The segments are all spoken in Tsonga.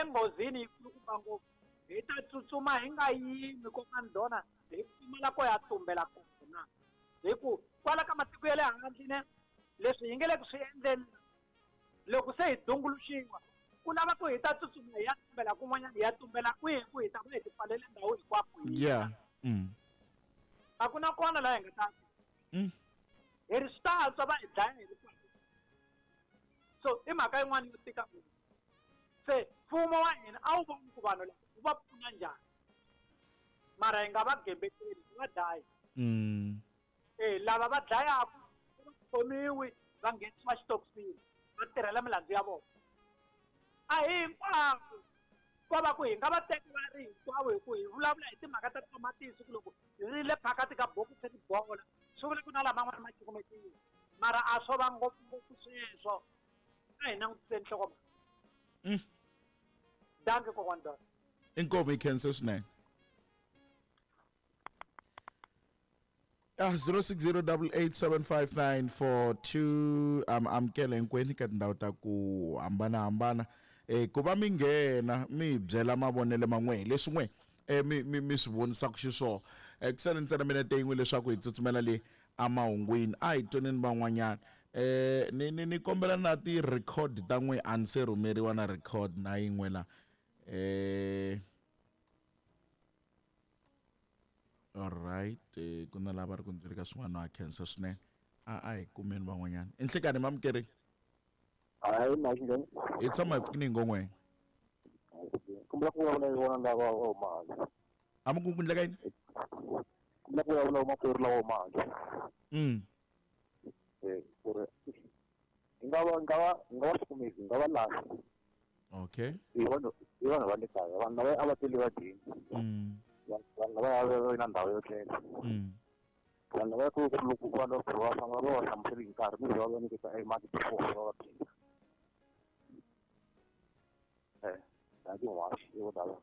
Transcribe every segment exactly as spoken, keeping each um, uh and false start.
le nghozini yi kulukumba ngopfu hi ta tsutsuma hi nga yimi kokwana Dona hi pfumala ko ya tumbela kona hi ku kwala ka matiko ya le handle ne leswi hi nge le ku swi endleni loko se hi dunguluxiwa ku lava ku hi ta tsutsuma hi ya tumbela kun'wanyana hi ya tumbela kwihi ku hi ta va hi tipfalele ndhawu hinkwako yeah mm. a ku na kona laha hi nga ta mm. hi ri swi ta antswa va hi dlaya hi ri kwala so i mhaka yin'wana yo tika ngopfu se mfumo wa hina a wu voni ku vanhu lava wu va pfuna njhani mara hi nga va gembeteli hi va dlayi mm. e lava va dlayaka va khomiwi va nghenisiwa xitokisini va tirhela milandzu ya vona a hi hinkwavo ko va ku hi nga va teki va ri hinkwavo hi ku hi vulavula hi timhaka ta tamatisi ku loko ri le phakati ka bokisi ri bola swi vula ku na laman'wana ma cukumetiwa mara a swo va ngopfungopfu sweswo a hi langutiseni nhlokomhaka Mm. danke kokwana Dona Inkomu hi khense swinene Ah, zero six zero double eight seven five nine four two am amukela hinkwenu ka tindhawu ta ku hambanahambana eh ku va mi nghena mi hi byela mavonelo man'we hi leswi n'we eh mi mi mi swi vonisaka xiswona eh ku sale ntsena minete yin'we leswaku hi tsutsumela le emahungwini a hi twaneni van'wanyana eh ni ni ni kombela na ti-record ta n'we a ni se rhumeriwa na record na yin'we la eh alright eh, ku na lava ri ku ndzi ka swin'wana wa khensa swinene a a hi kumeni van'wanyana i nhlekani mamukeri hayi mhaka hi tshama hi pfukini hi ngon'we kombela ku vulavula hi vona lava va huma handle a mi ku ku ndleka yini kombela ku vulavula makwerhu lawa huma handle mm eh ku ri hi nga va nga va nga va hlukumezi nga va lahli okay hi vanhu hi vanhu va le kaya vanhu lava a va tele va dyini mm vanhu lava a va na ndhawu yo tlela mm vanhu lava ku ku loko vanhu va va famba va va hlamuseli hi nkarhi kumbe va va nyiketa e mati before va va phika eh dankie n'waxi i vo tala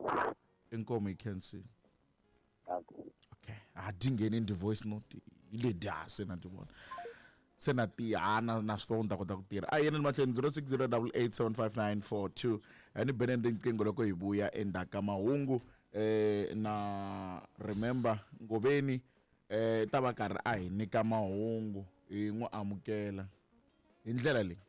inkomu hi khensile dankie okay a di ngheni ndi voice note hi le dya se na ti vona se na tihana na swi ta kota ku tirha a yeneni mahlweni zero six zero double eight seven five nine four two a ni beneni riqingho loko hi vuya endzhaku ka mahungu eh na remember ngoveni eh ta va karhi a hi nyika mahungu hi n'wi amukela hi ndlela leyi.